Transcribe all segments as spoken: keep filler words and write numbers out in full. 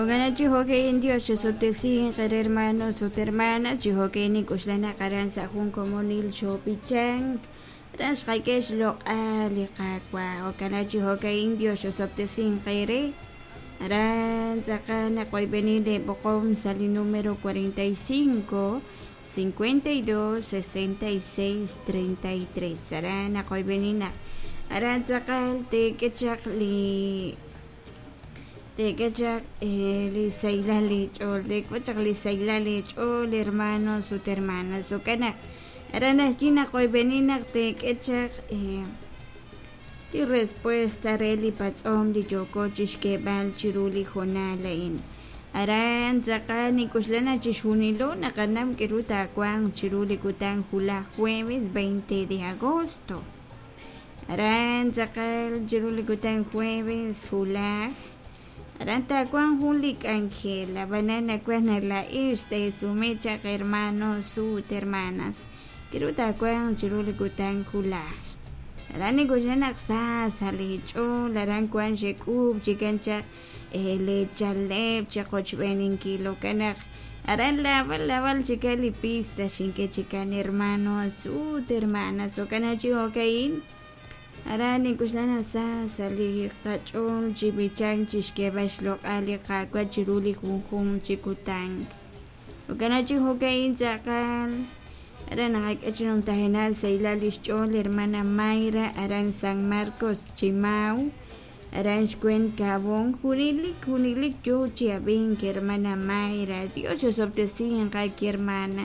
Jo'kan chi jo'ka'in Dios xosob'tesinq qere hermanos ut hermanas chi jo'ka'in nik'uxlana qaran sa' jun komonil xob'ichank aran xqak'e xloq'al li Qaawa' jo'kan chi jo'ka'in Dios xosob'tesinq qere aran tz'aqal naqoyb'eni leb'oqom sa' li número cuarenta y cinco, cincuenta y dos, sesenta y seis, treinta y tres aran naqoyb'eni naq aran tz'aqal teek'echaq li teek'echaq li saylal li ch'ool teek'echaq li saylal li ch'ool hermanos ut hermanas jo'kan naq aran ajwi' naqoyb'eni naq teek'echaq li respuesta re li patz'om li yooko chixk'eeb'al chiru li jonal a'in aran tz'aqal nik'uxlana chixjunilo naqanam k'eru taawanq chiru li kutan julaj jueves veinte de agosto aran tz'aqal chiru li kutan jueves julaj aran taawanq jun li k'anjel ab'anan nakuaj naq laa'ix teesume chaq hermanos ut hermanas k'eru taawanq chiru li kutan julaj aran nik'uxlana naq sa sa' li ch'ool aran wan xek'uub' chikan chaq lechaleb' chaqochb'eninkil jo'kan naq aran laab'al laab'al chikan li pista xink'e chikan hermanos ut hermanas jo'kan chi jo'ka'in aran nik'uxlana sa sa' li qach'ool chi b'ichank chixk'eeb'al xloq'al li Qaawa' chiru li junjunq chi kutan jo'kan chi jo'ka'in tz'aqal aran naqak'e chi numtajenal saylal lix ch'ool hermana Mayra aran San Marcos Chimau aran xkwen Cabón junilik junilik yoo chi ab'ink hermana Mayra Dios xosob'tesinq qaki hermana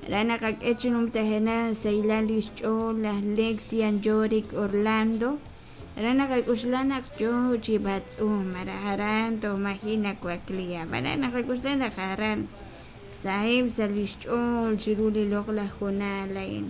aran naqak'e chi numtajenal saylal lix ch'ool laj Lexian Yorick Orlando aran naqak'uxla naq yoo chi b'atz'um aran aran toj maji' nawakliha aran naqak'uxla naq aran saheb' sa' lix ch'ool chiru li loq'laj jonal a'in.